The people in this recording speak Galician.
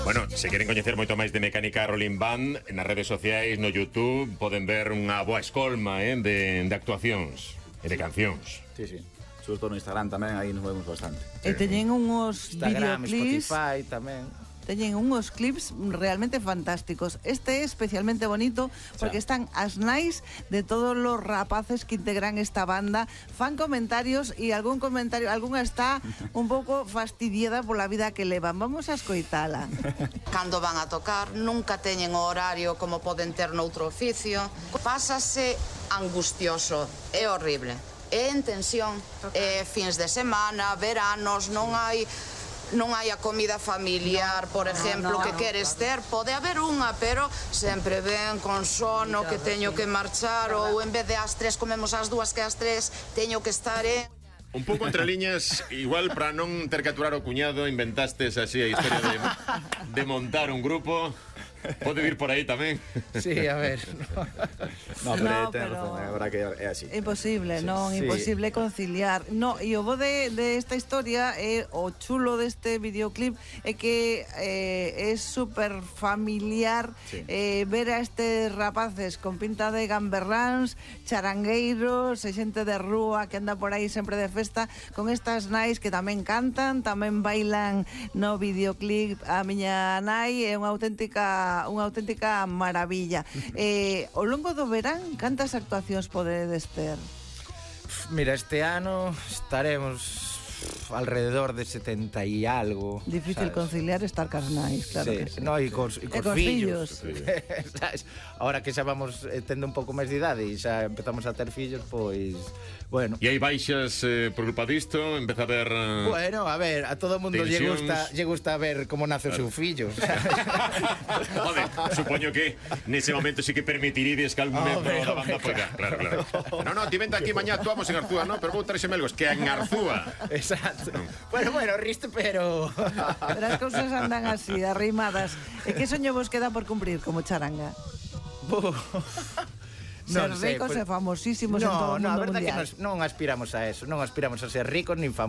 Bueno, se queren coñecer moito máis de Mecánica Rolling Band, nas redes sociais, no YouTube, poden ver unha boa escolma de actuacións e de cancións. Sí, sí. Sobre todo no Instagram tamén, aí nos vemos bastante. E teñen uns Instagram, videoclips, Spotify tamén. teñen uns clips realmente fantásticos. Este é especialmente bonito porque están as nais de todos os rapaces que integran esta banda, fan comentarios e algunha está un pouco fastidiada pola vida que levan. Vamos a escoitala. Cando van a tocar nunca teñen o horario como poden ter noutro oficio. Pásase angustioso, é horrible. É en tensión, fins de semana, veranos, non hai a comida familiar, por exemplo, que queres ter. Pode haber unha, pero sempre ven con sono, que teño que marchar, ou en vez de ás 3 comemos ás 2, que ás 3 teño que estar Un pouco entre liñas, igual para non ter que aturar o cuñado, inventastes así a historia de montar un grupo. Pode vir por aí tamén. Sí, a ver. No, pero ten razón, a verdad que é así. Imposible, non, imposible conciliar. No, e o bo de esta historia é o chulo deste videoclip é que é super familiar ver a estes rapaces con pinta de gamberráns, charangueiros, e xente de rúa que anda por aí sempre de festa, con estas nais que tamén cantan, tamén bailan no videoclip. A miña nai é unha auténtica maravilla. Ao longo do verán, cantas actuacións podedes ter? Mira, este ano estaremos alrededor de 70 e algo. Difícil conciliar estar cas nais, claro que sí. No, e cos fillos. Ahora que xa vamos tendo un pouco máis de idade e xa empezamos a ter fillos, pois, bueno. E hai baixas por culpa disto, empeza a ver... Bueno, a ver, a todo mundo lle gusta ver como nace o seu fillo. Joder, supoño que nese momento sí que permitiríades que algún membro da banda poida. Claro. No, ti vente aquí mañá, actuamos en Arzúa, no, pero vou traxe melgos, que en Arzúa. Exacto. Bueno, risto, pero as cousas andan así, arrimadas. E que soño vos queda por cumprir como charanga? Ser ricos e famosísimos en todo o mundo mundial. A verdade é que non aspiramos a eso. Non aspiramos a ser ricos nin famosos.